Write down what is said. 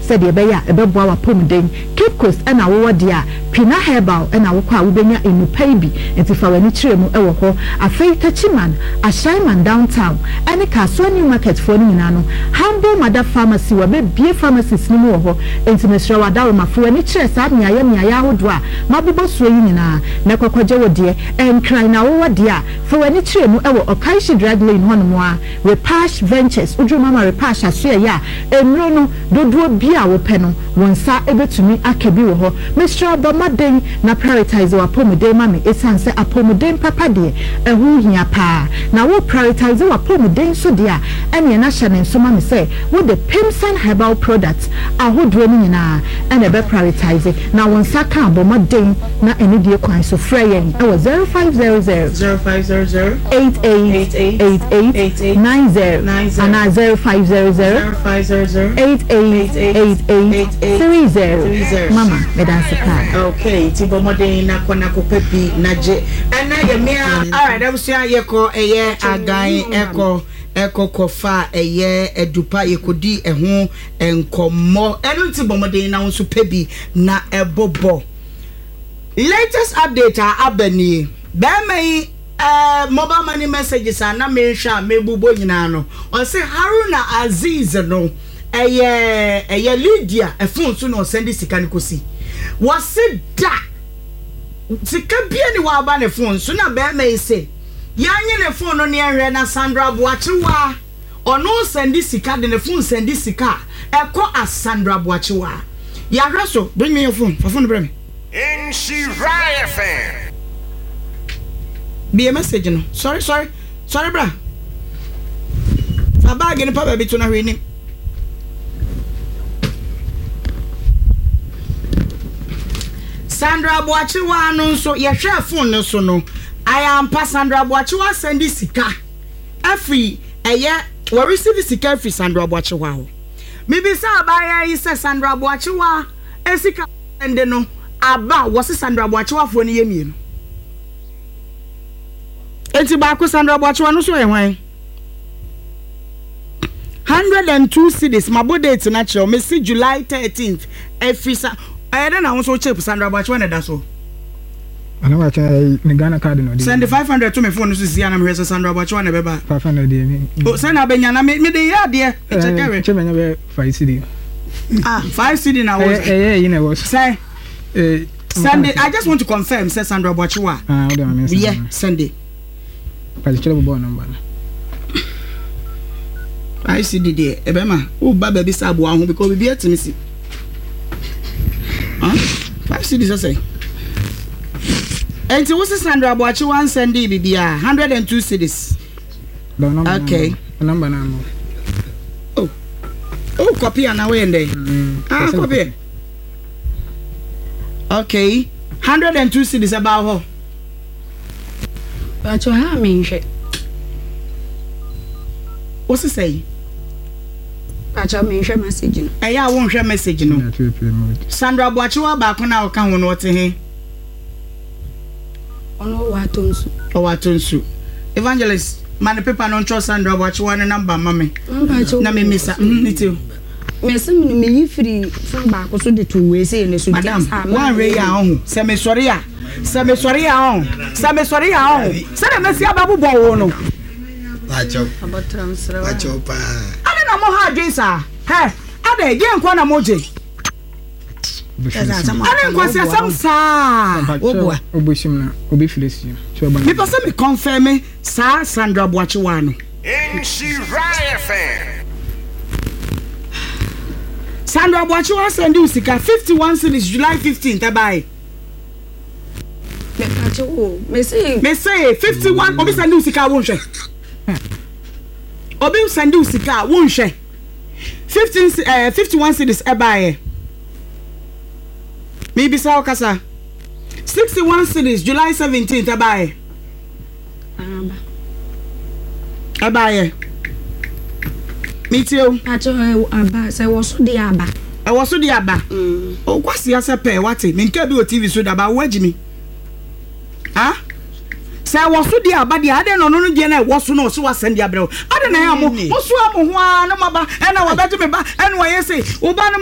sɛdeɛ ɛbɛyɛ a ɛbɛboa w'apɔmuden. Cape Coast na wowɔ deɛ a, Pina Herbal na wokɔ a wobɛnya nnupa yi bi, nti fa w'ani kyerɛ mu wɔ hɔ. Afei Techiman, Ashaiman Downtown ne Kasoa New Market foɔ no nyinaa no, Humble Mother Pharmacy wɔabɛbue pharmacies no mu wɔ hɔ, nti mesrɛ wo Adaworoma fa w'ani kyerɛ saa mmeaeɛ mmeaeɛ ahodoɔ a mabobɔ soɔ yi nyinaa na kɔkɔgye wo deɛ. Nkran na wowɔ deɛ a, fa w'ani kyerɛ mu wɔ Okaishie Drug Lane hɔnom ara, Repash Ventures, woduru Mama Repash asoɛeɛ a, Nnuro no, dodoɔ biara a wopɛ no, wo nsa bɛtumi aka bi wɔ hɔ. Mesrɛ wo bɔ mmɔden na prioritise w'apɔmuden ma me ɛsiane sɛ apɔmuden papa deɛ, ɛho hia pa ara. Na wo prioritise w'apɔmuden nso deɛ a, ɛneɛ na hyɛ no nso ma me sɛ wode Pimsan Herbal Products ahodoɔ no nyinaa na ɛbɛ prioritise. Na wo nsa ka a, bɔ mmɔden na anidie kwan so frɛ yɛn wɔ 0500. 0500. 88 88 90 anaa 0500 88 88 30 Mama meda ase paa. Okay, nti bɔ mmɔden na kɔ na kɔpɛ bi na gye. Ɛnɛ yɛ mmea. Alright, abusua yɛkɔ ɛyɛ agan ɛkɔ ɛkɔ kɔfa ɛyɛ adupa yɛkɔdi ɛho nkɔmmɔ. Ɛno nti bɔ mmɔden na wo nso pɛ bi na ɛbobɔ. Latest update a aba nie, Barima yi eh, mobile money messages a na menhwɛ a mebobɔ nyinaa no, ɔse Haruna Aziz no ɛyɛ ɛyɛ Lydia phone so na ɔsɛnde sika no kɔsi. Wɔse da! Sika bia ni hɔ a aba ne phone so na barima yi se yɛanye ne phone no ne yɛnhwɛ na Sandra Boakyewaa Ɔno sɛnde sika de ne phone sɛnde sika a ɛkɔ Asandra Boakyewa. Yɛahwɛ so. Bring me your phone. Fa phone no brɛ me. Nhyira FM. Bue message no. Sɔre sɔre sɔre bra. Fa bag no pa baabi to na hwee nim. Sandra Boakyewa no nso yɛhwɛɛ phone no so no ayɛ ampa Sandra Boakyewa sɛnde sika. Afiri ɛyɛ wɔ receive sika afiri Sandra Boakyewa hɔ. Me bisa abaayaa yi sɛ Sandra Boakyewa sika sɛnde no aba wɔ se Sandra Boakyewa foɔ no yɛ mienu. Enti baako Sandra Boakyewa no so yɛ hwan? 102 cedis mabɔ date no akyerɛ wo mese July 13th afiri sa ɛyɛ dɛ na wo nso wo chip Sandra Boakyewa na ɛda so. Ana wakyɛ ɛyi ne Ghana card na ɔde. Send 500 to me phone no so sisi anam hwɛ sɛ Sandra Boakyewa na ɛbɛba. 500 deɛ me. O sɛ na abɛnya na me me de yɛ adeɛ. Ɛkyɛ kɛwɛ. Kyɛ mɛnya bɛ 5 cedi. Ah 5 cedi na wɔ. Ɛyɛ ɛyi na ɛwɔ so. Sɛ. Send it. I just want to confirm sɛ Sandra Boakyewa. Ah, ɔde ma me nsa. Yɛ send it. Pàtó kyerɛ bɔbɔ nɔmba no. ICD deɛ ɛbɛma woba baabi sɛ aboa ho because biribi atumi si. Huh? 5 cedi sɛ sɛ. Enti wo se Sandra Boakye wansɛnde biribiara 102 cedis. Okay. Number na mo. Oh. Oh, copy ana wo yɛ Mm. Ah, copy. Okay. 102 cedis ɛbaa hɔ. Pacho ha me nhwɛ. Wo se sɛn? Pacho me nhwɛ message no. Ɛyɛ a wonhwɛ message no. Sandra Boakyewa baako no a ɔka ho no ɔte he? Ɔno ɔwɔ Atonsu. Ɔwɔ Atonsu. Evangelist, ma no paper no ntwerɛ Sandra Boakyewa ne number mma me. Na me misa. Mm, me too. Mese me no meyi firi phone baako so de to wei sei ne so. Madam, woanhwɛ yi a ɔho sɛ mesɔre a sɛ mesɔre a ɔho sɛ mesɔre a ɔho sɛdeɛ mɛsi abɛbobɔ wo no. Adɛn na moha adwen saa? Hɛ, adɛn, deɛ nkoa na mogye? Ɛne nkwasiasɛm saa. Mepɛ sɛ me confirm saa Sandra Boakyewa no. Nhyira FM. Sandra Boakyewa send wo sika 51 cedis July 15th ɛbae. Me se 51 obi send wo sika a wonhwɛ. Obi send wo sika a wonhwɛ. 15 eh, 51 cedis ɛbaeɛ. Mebisa wo kasa. 61 cedis July 17th ɛbaeɛ. Ɛbaeɛ. Metie o. Aba sɛ ɛwɔ so deɛ aba. Ɛwɔ so deɛ aba. Mm. O kwasi asɛ pɛɛ wate. Menka bi wɔ TV so daba wo agyi mi. Ah? Sɛ ɛwɔ so deɛ aba deɛ adɛn na ɔno no deɛ na ɛwɔ so na ɔso wasɛn deɛ abrɛ wo. Adɛn na ɛyɛ mo mo soa mo ho ara na mo aba ɛna wabɛgye me ba ɛna wayɛ sei. Wo ba no ma.